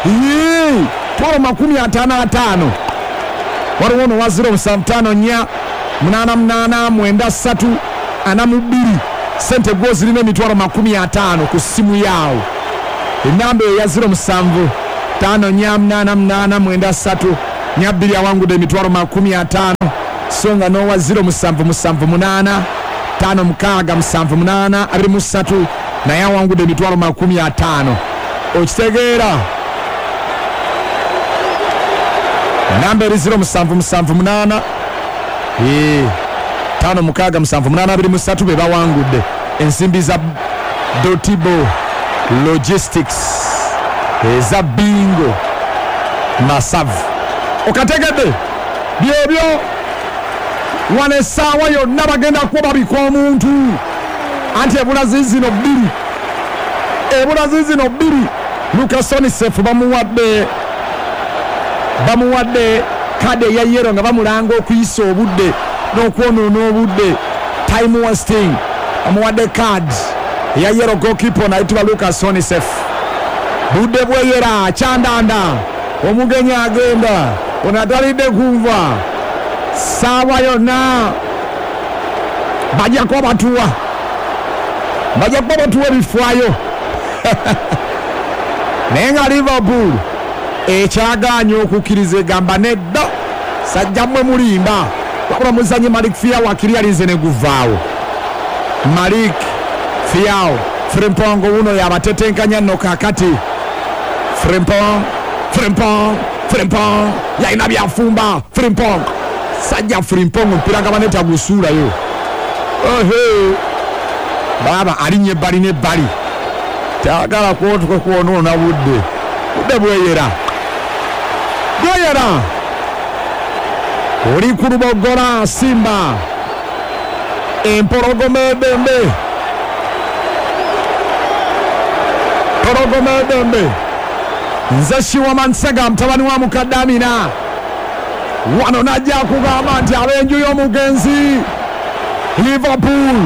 Mitwalo 55. Waliwo ono wa 075 4 88 93 42 Sente gwo zirina 500,000 ku ssimu yaawo. Enamba eyo ya 07 5 4 8 8 9 3 4 2 awangudde 50,000, so nga n'owa 07 7 8 5 6 7 8 23 naye awangudde 50,000. Okitegeera? Namba eri 07 7 8 5 6 7 8 23 be bawangudde ensimbi za Dotibo Logistics eza bingo masavu. Okategedde? Byebyo wano essaawa yonna bagenda kuba babika omuntu, anti ebula zizino bbiri, ebula zizino bbiri. Lucas Onisef bamuwadde kade eya yero nga bamulanga okuyisa obudde n'okwonoona obudde, time wasting. Bamuwadde card eya yero, goalkeeper nayitibwa Lucas Onisef. Budde bweyera kyandanda, omugenyi agenda ono atalidde kunva. Saawa yonna bajja kuba batuwa, bajja kuba batuwa ebifaayo. Naye nga Liverpool ekyagaanye okukkiriza, egamba nedda, sajja mmwe mulimba. Wabula muzanyi Malik Fiaw akiri alinze ne guvaawo. Malik Fiaw Frimpong wuno yabatetenkanya nno kaakati. Frimpong, Frimpong, Frimpong yalina byafumba. Frimpong, sajja Frimpong omupiira nga baneta gusuulayo. Ohe baaba alinnya ebbali n'ebbali, tayagala kwotuka kwonoona budde. Budde bweyera, bweyera. Oli ku Lubogola Simba, empologoma edembe, pologoma edembe. Nze Shiwama Nsega mutabani wa mukadde Amina wano najja kugamba nti ab'enju y'omugenzi Liverpool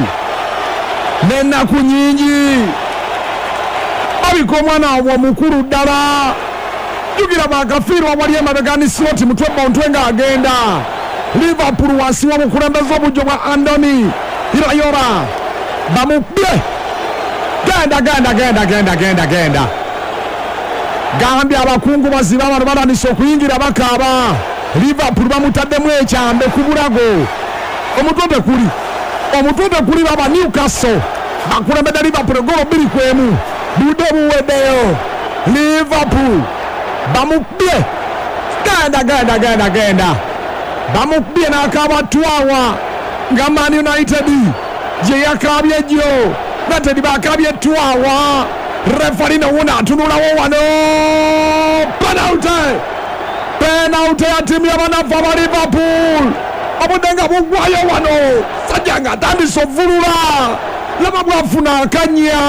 n'ennaku nyingi babika omwana waabwe omukulu ddala. Jjukira bakafiirwa wali emabega ni Slot mutwe bontwe ng'agenda. Liverpool wansi w'obukulembeze obujjo bwa Andoni Iraola bamukubye. Genda genda genda genda genda genda. Gambye abakungu baziba bano batandise okuyingira bakaaba. Liverpool bamutaddemu ekyambe ku bulago. Omutwe tekuli, omutwe tekuli. Baba Newcastle bakulembedde Liverpool golo 2-1. Budde buweddeyo, Liverpool bamukubye. Genda genda genda genda, bamukubye n'akabatwawa nga Man United gye yakaabye jjo. United bakaabye twawa. Refari nowuna atunulawo wano, penalty, penalty ya ttiimu y'abanafu aba Liverpool. Obudde nga buggwayo wano, sajja nga atandise ovulula, laba bwafuna akanya,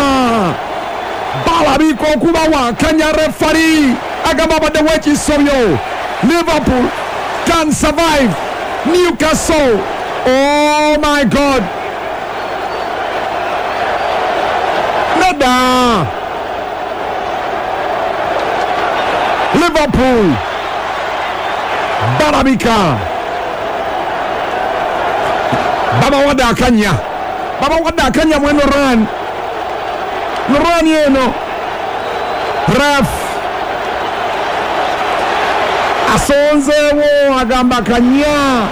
balabika okubawa akanya. Refari agamba abaddewo ekisobyo. Liverpool can survive Newcastle. Oh my God, nedda. Liverpool balabika babawadde akanya, babawadde akanya mweno run run eno. Ref asonzeewo agamba kanya.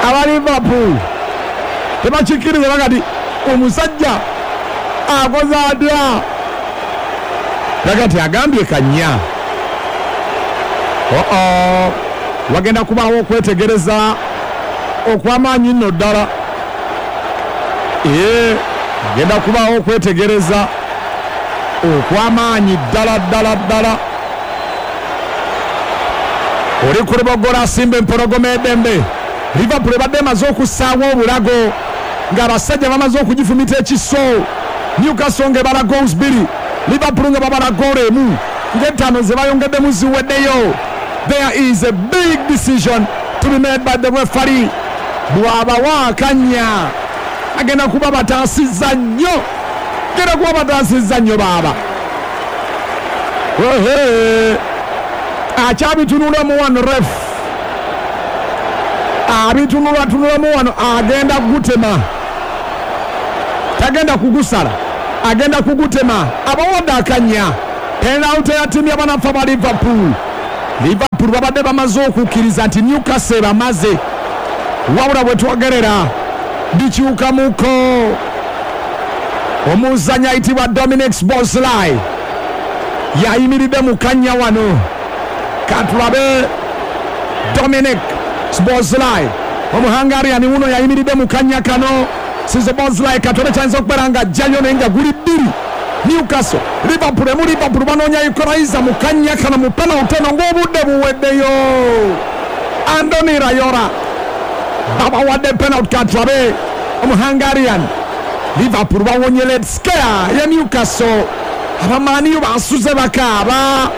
Aba Liverpool tebakikkiriza, bagati omusajja akoze atya? Bagati agambye kanya. Oo, wagenda kubaawo okwetegereza okw'amaanyi nno ddala. Ee, agenda kubaawo okwetegereza okw'amaanyi ddala ddala ddala. Oli ku Lubogola Simba empologoma edembe. Liverpool ebadde emaze okussaawo obulago ng'abasajja bamaze okugifumita ekiso. Newcastle ng'ebala goals 2, Liverpool nga babala goolo 1, ng'ettaano ze bayongeddemu ziweddeyo. There is a big decision to be made by the referee. Bw'abawa akanya agenda kuba bataasizza nnyo, genda kuba bataasizza nnyo baaba. Ehe, akyabitunulamu wano ref. Abitunulatunulamu wano, agenda kugutema, tagenda kugusala, agenda kugutema. Abawadde akanya. Penalty ya ttiimu y'abanafa ba Liverpool. Liverpool babadde bamaze okukkiriza nti Newcastle bamaze, wabula bwe twogerera bikyukamuko. Omuzanyi ayitibwa Dominic Szoboszlai yayimiridde mu kanya wano. Katulabe Dominic Szoboszlai, Omuhungarian wuno yayimiridde mu kanya kano. Szoboszlai katole kyayinza okubeera nga ajjayo, naye nga guli 2 Newcastle Liverpool emu. Liverpool banoonya equalizer mu kanya kano mu penalty eno ng'obudde buweddeyo. Andoni Iraola, babawadde penalty. Katulabe Omuhungarian. Liverpool bawonye late scare ya Newcastle. Abamaniyo basuze bakaaba,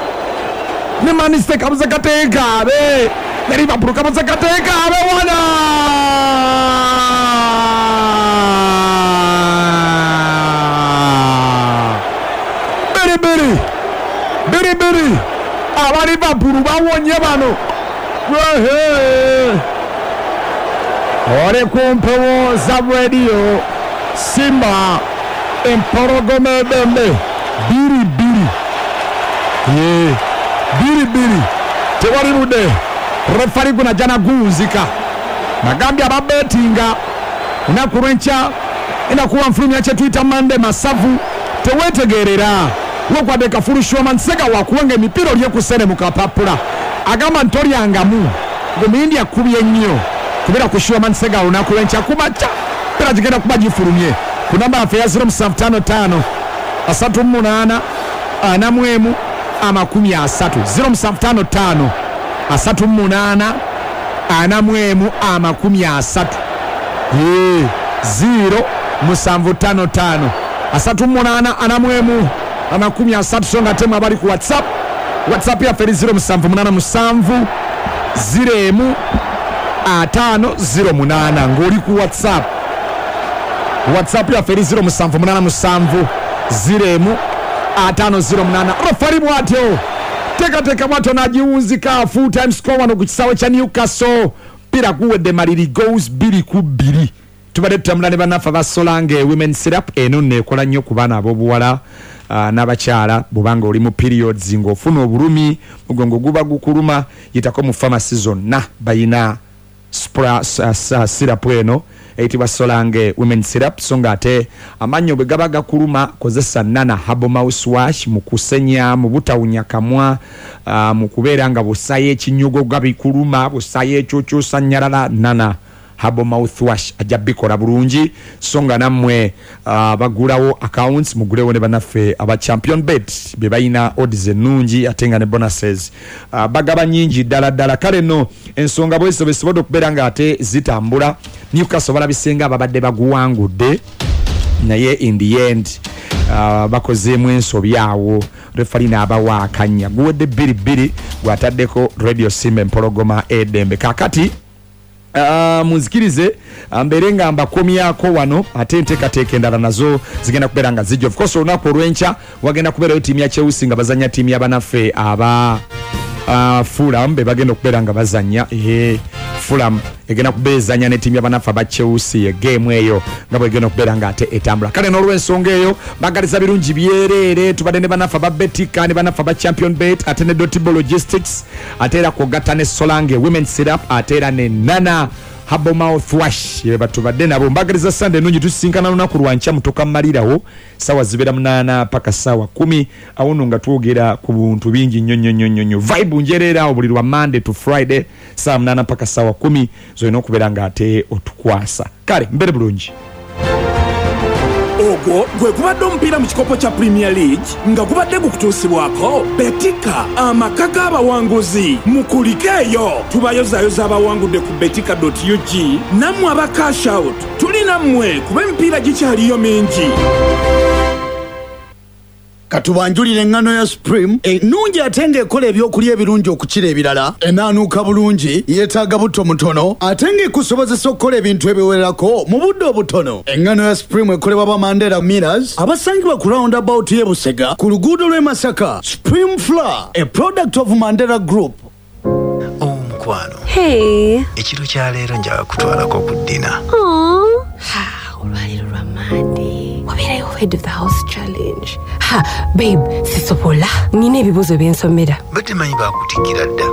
ne Manchester kabuze kateekaabe, ne Liverpool kabuze kateekaabe wana. 2-2, 2-2. Aba Liverpool bawonye bano. Wehe. Oli ku mpewo za Radio Simba, Empologoma Edembe, 2-2, ye 2-2, tewali budde. Refari gunajja naguwunzika. Nagambye ababetinga, olunaku lwenkya enakuwa nfulumya kyetuyita Mande Masavu. Tewetegerera wokwadde kafulushoma nsega wakuwenga emipiira olyekusene mu kapapula, agamba ntolyangamu ngomuyindi akubye nnyo kubeera ku Shuaman Sega. Olunaku lwenkya kumakya pira gigenda kuba gifulumye ku namba yaffe ya 0755 38 41 30, 0755 38 41 30, ye 0755 38 41 30. So nga temu abali ku WhatsApp, WhatsApp yaffe eri 0787 0 5 08. Ng'oli ku WhatsApp, WhatsApp yaffe eri 0787 0 5 08. Refari bwatyo teekateeka bwatyo n'agiwunzika. Full time score wano ku kisaawe kya Newcastle, mpira guwedde maliri, goals 2-2. Tubadde tutambula ne bannaffe abasolange Women Syrup. Eno nno ekola nnyo ku baana ab'obuwala n'abakyala. Bwobanga oli mu periods ng'ofuna obulumi, mugongo guba gukuluma, yitako mu famasi zonna, bayina syrup eno eyitibwa Solange Women Syrup. So nga ate amannyo bwe gaba gakuluma, kozesa Nana Herbal Mouthwash mu kusenya, mu butawunya kamwa, mu kubeera nga busayo ekinyugo gabikuluma, busayo ekyokyosanyalala. Nana Herbal Mouthwash ajja bikola bulungi. So nga nammwe bagulawo accounts, mugulewo ne bannaffe aba Champion Bet be balina odds ennungi, ate nga ne bonuses bagaba nyingi ddala ddala. Kale nno ensonga bwezo besobodde okubeera nga ate zitambula. Newcastle balabisenga ababadde baguwangudde, naye in the end bakozeemu ensobi awo, refali n'abawa akanya. Guwedde 2-2. Gwataddeko Radio Simba, Empologoma Edembe. Kakati munzikirize mbeere nga mbakomyako wano, ate enteekateeka endala nazo zigenda kubeera nga zijja. Of course olunaku olw'enkya wagenda kubeerayo ttiimu ya Chelsea nga bazanya ttiimu y'abanaffe aba Fulham, be bagenda okubeera nga bazanya. Fulham egenda kuba ezanya ne ttiimu y'abanaffe aba Chelsea, egeemu eyo nga bwegenda okubeera nga ate etambula. Kale n'olw'ensonga eyo bagaliza birungi byereere. Tubadde ne bannaffe aba Betika, ne bannaffe aba Champion Bet, ate ne Dotibo Logistics, ate era kwogatta ne Solange Women Syrup, ate era ne Nana Herbal Mouthwash, ye batubadde nabo. Mbagaliza Sande ennungi. Tusisinkana lunaku lwankya mutoka mmalirawo, sawa zibeera 8 paka sawa 10. Awo nno nga twogera ku buntu bingi nnyo nnyo nnyo nnyo nnyo. Vibe njereera awo buli lwa Monday to Friday, sawa 8 paka sawa 10, zolina okubeera nga ate otukwasa. Kale mbere bulungi. Ogwo gwe gubadde omupiira mu kikopo kya Premier League nga gubadde gukutuusibwako Betika, amaka g'abawanguzi. Mukulike eyo, tubayozaayoza abawangudde ku betika.ug. Nammwe aba cash out, tuli nammwe kuba emipiira gikyaliyo mingi. Katubanjulira eŋŋano ya Supreme ennungi, ate ng'ekola ebyokulya ebirungi okukira ebirala. Enaanuuka bulungi, yeetaaga butto mutono, ate ng'ekusobozesa okukola ebintu ebiwerako mu budde obutono. Eŋŋano ya Supreme ekolebwa ba Mandela Millers abasangibwa ku roundabout y'e Busega ku luguudo lw'e Masaka. Supreme Flour, a product of Mandela Group. Omukwano. Mukwano. Hey. Ekiro kya leero njagala kutwalako ku dinner. Aww. Ha, olwaleero lwa Monday. Wabeerayo head of the house challenge. Ha, babe, sisobola. Nina ebibuuzo byensomera. Badde manyi baakutikkira dda.